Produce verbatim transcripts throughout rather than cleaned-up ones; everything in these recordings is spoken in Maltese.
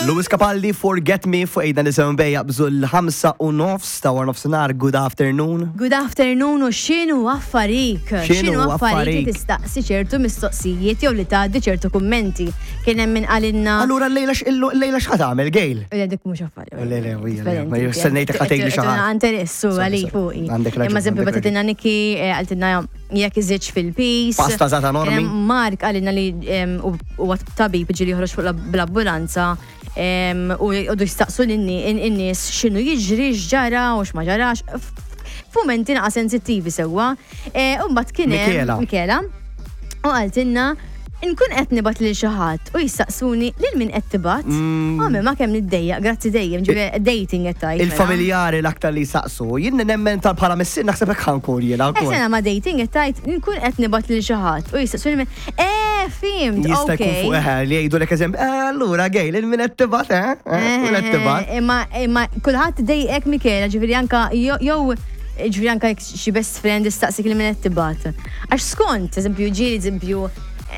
Lewis Capaldi, "Forget Me" fuq Ejda Nisimgħu Bay, jaqbżu l-ħamsa u nofs ta' wara nofsinhar. Good afternoon. Good afternoon u x'inhu affarik? X'inhu affarik li affarik? tistaqsi ċertu mistoqsijiet jew li tgħaddi ċertu kummenti? Kien hemm min qalilna. Allura l-lejla l-lejla x'ħa tagħmel, Gail? Le, dik mhux affari. Le, le, le, ma stennejtek ħa tgħidli xi ħaġa. Interessu Sorry, għalik sorry. fuqi. Għandek raġun, Imma eżempju għandek bagħtitilna Niki, eh, qaltilna jekk iżidx fil-piż. Pasta zata normi. Kien hemm Mark qalilna li em, u- huwa tabib, ġieli joħroġ fuq la- bl-ambulanza em, u jqogħdu jistaqsu lin-nies x'inhu jiġri, x'ġara u x'ma ġarax. F- F'mumenti naqa sensittivi sewwa. Eh, U mbagħad kien hemm Michela. Michela. U qaltilna nkun qed nibgħat lil xi ħadd u jistaqsuni lil min qed tibgħat. Mm. Għame ma kemm niddejjaq, grazzi dejjem, ġifieri dating qed tgħid, mela. Il-familjari l-aktar li saqsu. Jien nemmen tal bħala missier naħseb hekk ħa nkun jiena Eh, wkoll. sena ma dating qed tgħid, nkun qed nibgħat lil xi ħadd u jistaqsuni min. Eh, fhimt, Jista' jkun okej. fuq eħe li jgħidu lek eżempju, eh, allura Gail, il-min qed tibgħat, eh? Eh, Min qed tibgħat? Eh, Imma imma kulħadd dejqek, Michela, ġifieri anka jew jew ġifieri anka jekk xi best friend istaqsik li min qed tibgħat. Għax skont, eżempju, ġieli eżempju,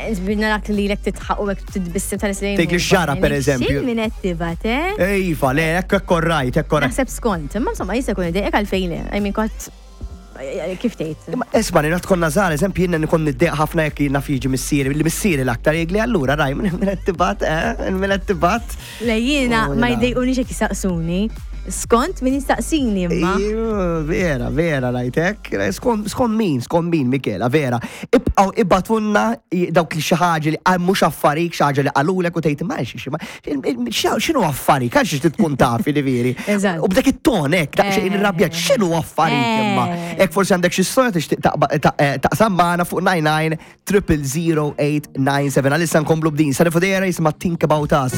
eżempju narak li lek titħaq u hekk titbissem tal Tgħid li x'ġara, per eżempju. X'il min qed tibgħat, eh? Iva, le, hekk hekk orrajt, hekk orrajt. Naħseb skont, imma insomma jista' jkun idejqek, għalfejn le. I mean, kont kif tgħid? Imma isma' li konna żgħar, eżempju, jiena nkun niddejjaq ħafna jekk jiena fiġi missieri, li missieri l-aktar jgħidli, "Allura raj, min qed tibgħat, eh, min qed tibgħat?" Le, jiena Oh, ma jiena. jdejqunix jekk jistaqsuni. Skont min jistaqsini imma. Iju, vera, vera, rajtek. Skont skont min, skont min, Michela, vera. Ibqaw ibgħatulna dawk li xi ħaġa li għal mhux affarik, xi ħaġa li qalulek u tgħid ma xi x'inhu affarik, għal xi tkun tafi li veri. Eżatt. U b'dak it-ton hekk, daqsxejn Eh. irrabjat, x'inhu affarik imma? Eh. Hekk forsi għandek xi storja tixtieq taqba- ta- eh, taqsam magħna fuq nine nine triple zero eight nine seven. Għalissa nkomplu b'din. Sara Fodera jisimha "Think About Us".